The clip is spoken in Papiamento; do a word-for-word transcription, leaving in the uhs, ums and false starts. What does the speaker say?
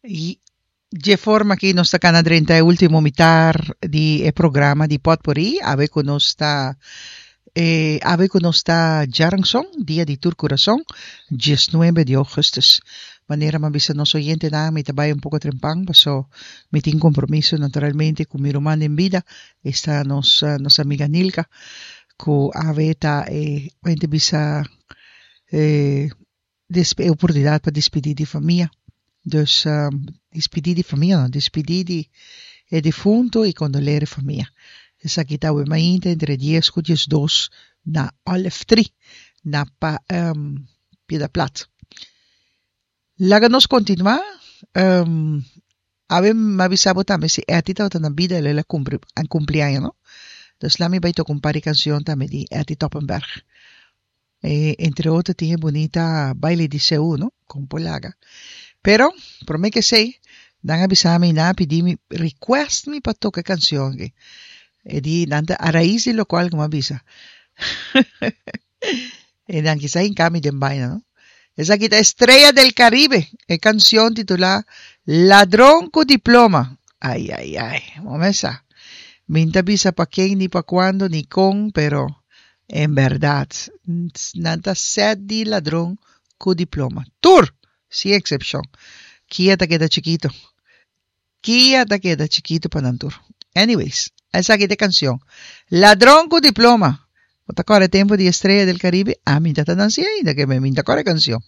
I dje forma aki nos ta kana drenta e último mitar di e programa di Potpourri. Awe ku nos ta eh, awe ku nos ta djaranson, dia di tur kurason, diesnuebe di ougùstùs. Manera m'a bisa nos oyentenan, mi ta bai un poko trempan, paso mi tin kompromiso naturalmente ku mi ruman den bida, esta nos nos amiga Nilka, ku awe ta e hende bisa e e oportunidat pa dispidí di famia. Dus dispidí di famia no, dispidí di e difunto i kondoler e famia. Esaki ta awe mainta entre dies ku diesdos na Olive Tree na pa Piedra Plat. Laga nos kontinuá. Awe mi a bisa bo tambe si Etty tabata na bida el a kumpli kumpli aña no. Dus laat mi bai toka un par di kanshon tambe di Etty Toppenberg. E entre otro tin e bunita Baile di Seú no, kon por laga. Pero prome ke esei nan a bisa mi nan a pidi mi request mi pa toka e kanshon aki. E di nan ta a rais di lokual ku mi a bisa. E nan kisa hinka mi den baina no. Esaki ta Estrella del Caribe, e kanshon titulá Ladron ku Diploma. Ai ai ai, bo mesa. Mi n'ta bisa pa ken ni pa kuando ni kon, pero en bèrdat nan ta sèt di ladron ku diploma. Tur! Sin eksepshon. Kia ta keda chikitu. Kia ta keda chikitu pa nan tur. Anyways, esaki ta e kanshon. Ladron ku diploma. Bo ta kòrda e tempu di Estrella del Caribe? Ami ta ta nansi ainda, ke mi ta kòrda e kanshon.